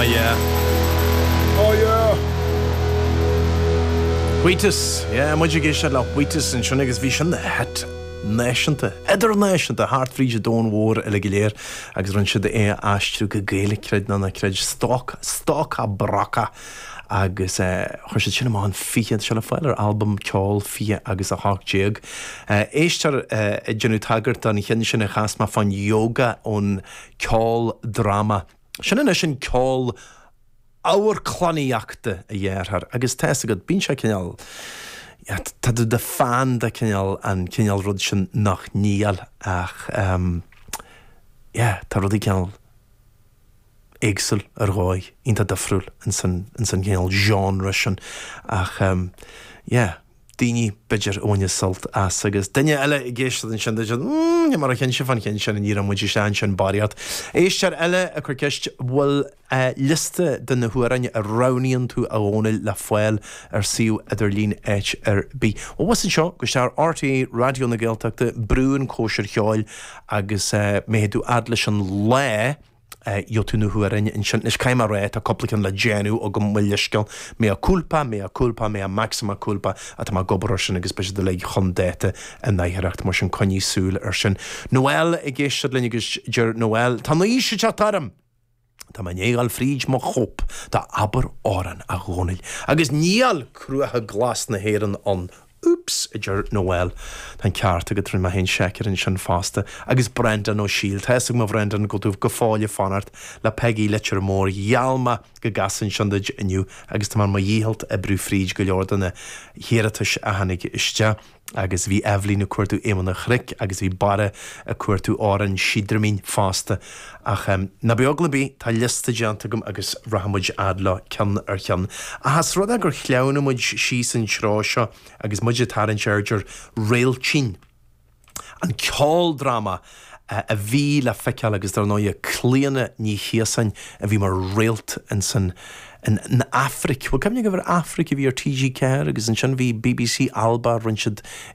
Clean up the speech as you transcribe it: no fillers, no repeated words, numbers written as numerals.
yeah. Oh yeah! Wheatus, yeah, muid ag éisteacht le Wheatus ansin agus bhí sin ina hit náisiúnta, idirnáisiúnta, thart fríd an domhan mhór uilig go léir agus rinne siad é a aistriú go Gaeilge, creid nó ná creid, Stoc, Stoca Broca agus chuir siad sin amach in 20, tá sé le fáil ar albam Ceol 20 agus 18. Éisteoir ag déanamh tagairt don cheann sin a chas mé fán yoga ón ceoldráma. Sin anois an ceol amharclannaíochta a dhéarfar agus tá fhios agat, bíonn sé cineál, tá tú i do fan de cineál an cineál rud sin nach níl ach yeah, tá rudaí cineál éagsúil ar dhóigh, iontach difriúil ins an cineál genre sin ach yeah. daoine, b'fhéidir, a bhaineas sult as. Agus duine eile ag éisteacht ansin, dúirt siad, mm, níl mé róchinnte fán cheann sin, ní raibh muid isteach ansin barraíocht. Éisteoir eile ag cur ceist, bhfuil liosta de na hamhráin a roghnaíonn tú a Dhónaill le fáil ar suíomh idirlín áit ar bith? Bhuel, bhus anseo, gabh isteach ar RTÉ Raidió na Gaeltachta, brú an Cóisir Cheoil agus má théid tú fhad leis an lá, Gheobhaidh tú na hamhráin ansin. Anois, caithfidh mé a rá, tá cúpla ceann le déanamh agam, mo leithscéal. Mea culpa, mea culpa, mea maxima culpa, ach tá mé ag obair air sin agus beidh siad uilig chun dáta in oidhreacht, mar sin coinnigh súil air sin. Noel ag éisteacht linn agus deir Noel, Tá an aois ag teacht orm! Tá mé i ndiaidh a dhul fríd mo chóip de Abair Amhrán, a Dhónaill, agus níl Cruacha Glas na hÉireann ann Oops, a deir Noel. Tá an ceart agat, rinne mé féin seic air ansin fosta. Agus Breandán Ó Siadhail, tá fhios agam a Bhreandáin go bhfuil tú go fóill ag fanacht le Peigí Leitir Móir. Gheall mé go gcasfainn sin duit inniu agus tá mé ar mo dhícheall oibriú fríd go leor de na hiarratais a tháinig isteach. Agus bhí Eibhlín ag cuartú Éamonn an Chnoic agus bhí Barra ag cuartú Amhrán Síodraimín fosta. Ach ná bíodh eagla ar bith, tá liosta déanta agam agus rachaidh muid fhad leo ceann ar cheann. Ach as rud é gur shleamhnaigh muid síos an treo seo agus muid ag tarraingt aird ar Réiltín, an ceoldráma a bhí le feiceáil agus dar ndóighe Clíona Ní Chíosáin a bhí mar réalt insan in Aifric. Bhfuil cuimhne agaibh ar Aifric a bhí ar TG4 agus ansin bhí bbc Alba, rinne siad.